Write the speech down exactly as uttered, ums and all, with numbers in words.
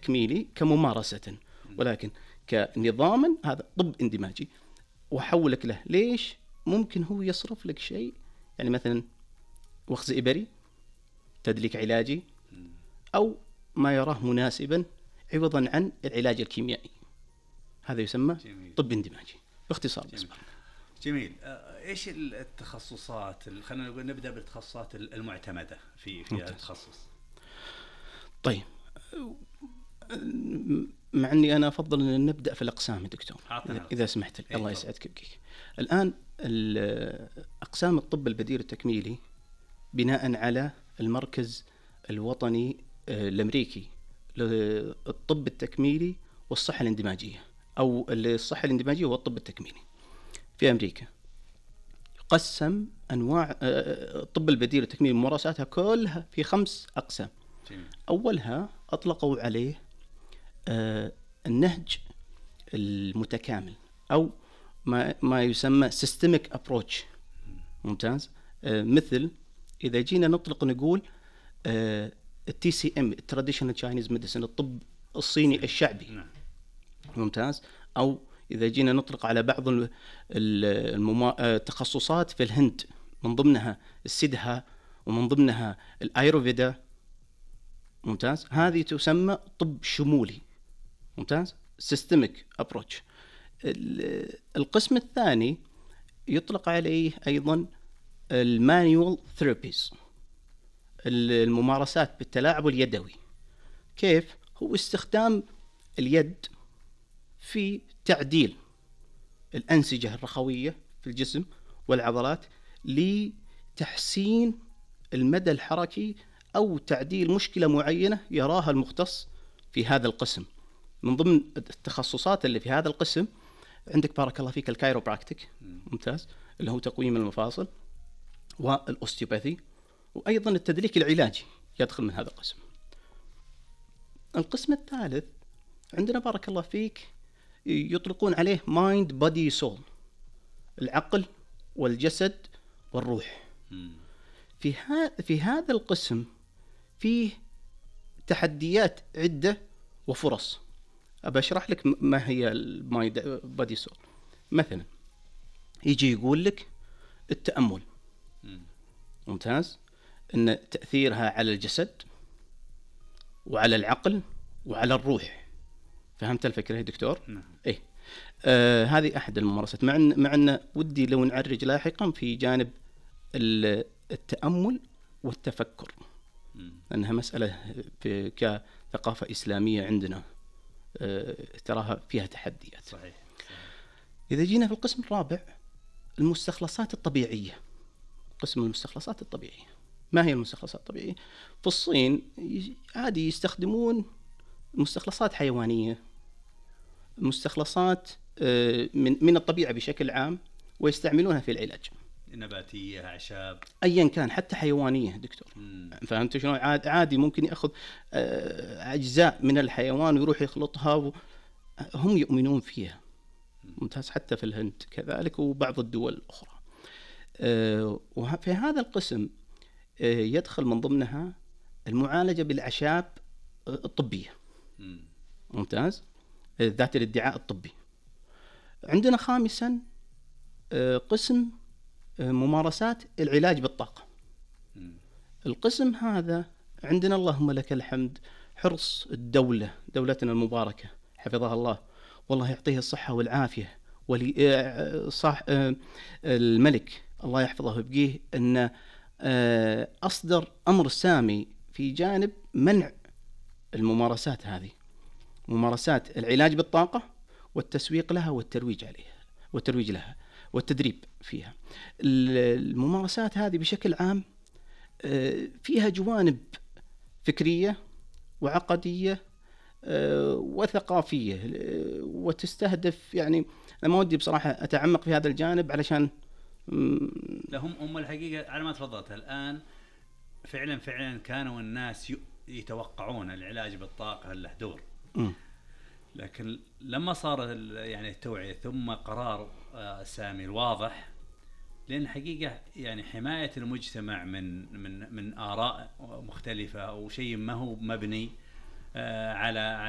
تكميلي كممارسة، ولكن كنظاما هذا طب اندماجي. وأحولك له ليش؟ ممكن هو يصرف لك شيء، يعني مثلا وخز إبري، تدليك علاجي، أو ما يراه مناسبا عوضا عن العلاج الكيميائي. هذا يسمى جميل. طب اندماجي باختصار. جميل, جميل. إيش التخصصات، خلينا نقول نبدأ بالتخصصات المعتمدة في في هذا التخصص. طيب، مع أني أنا أفضل أن نبدأ في الأقسام دكتور إذا سمحت لي. الله يسعدك بك. الآن أقسام الطب البديل التكميلي بناء على المركز الوطني الأمريكي للطب التكميلي والصحة الاندماجية، أو الصحة الاندماجية والطب التكميلي في أمريكا، قسم أنواع الطب البديل التكميلي ممارساتها كلها في خمس أقسام. أولها أطلقوا عليه النهج المتكامل، أو ما ما يسمى systemic approach. ممتاز. مثل إذا جينا نطلق نقول التي سي ام traditional Chinese medicine، الطب الصيني الشعبي. ممتاز. أو إذا جينا نطلق على بعض التخصصات في الهند، من ضمنها السيدها ومن ضمنها الآيروفيدا. ممتاز. هذه تسمى طب شمولي. ممتاز. systemic approach. القسم الثاني يطلق عليه أيضا المانيوال ثيرابيز، الممارسات بالتلاعب اليدوي. كيف؟ هو استخدام اليد في تعديل الأنسجة الرخوية في الجسم والعضلات لتحسين المدى الحركي أو تعديل مشكلة معينة يراها المختص في هذا القسم. من ضمن التخصصات اللي في هذا القسم عندك بارك الله فيك الكايروبراكتيك. ممتاز. اللي هو تقويم المفاصل، والأوستيوباثي، وأيضا التدليك العلاجي يدخل من هذا القسم. القسم الثالث عندنا بارك الله فيك يطلقون عليه mind body soul، العقل والجسد والروح. في هذا في هذا القسم فيه تحديات عدة وفرص. أبى أشرح لك ما هي المايند بادي سول. مثلا يجي يقول لك التأمل. ممتاز. أن تأثيرها على الجسد وعلى العقل وعلى الروح. فهمت الفكرة يا دكتور؟ نعم. إيه. آه هذه أحد الممارسات. مع أن مع أن ودي لو نعرج لاحقا في جانب التأمل والتفكر، لأنها مسألة كثقافة إسلامية عندنا آه تراها فيها تحديات. صحيح. صحيح. إذا جينا في القسم الرابع، المستخلصات الطبيعية. قسم المستخلصات الطبيعية. ما هي المستخلصات الطبيعية؟ في الصين عادي يستخدمون مستخلصات حيوانية، مستخلصات من من الطبيعة بشكل عام، ويستعملونها في العلاج. نباتية، أعشاب، أيا كان، حتى حيوانية دكتور. مم. فهمت شلون؟ عادي ممكن يأخذ أجزاء من الحيوان ويروح يخلطها و... هم يؤمنون فيها. ممتاز. حتى في الهند كذلك وبعض الدول الأخرى. وفي هذا القسم يدخل من ضمنها المعالجة بالأعشاب الطبية. ممتاز. ذات الادعاء الطبي. عندنا خامسا قسم ممارسات العلاج بالطاقة. القسم هذا عندنا اللهم لك الحمد حرص الدولة، دولتنا المباركة حفظها الله، والله يعطيه الصحة والعافية، ولي صح الملك الله يحفظه ويبقيه، أن أصدر أمر سامي في جانب منع الممارسات هذه، ممارسات العلاج بالطاقة والتسويق لها والترويج عليها والترويج لها والتدريب فيها. الممارسات هذه بشكل عام فيها جوانب فكرية وعقدية وثقافية، وتستهدف، يعني أنا ما ودي بصراحة أتعمق في هذا الجانب علشان لهم أم الحقيقة على ما تفضلت الآن. فعلا فعلا كانوا الناس يتوقعون العلاج بالطاقة له دور، لكن لما صار يعني التوعية ثم قرار سامي الواضح، لأن حقيقة يعني حماية المجتمع من من من آراء مختلفة أو شيء ما هو مبني آه على على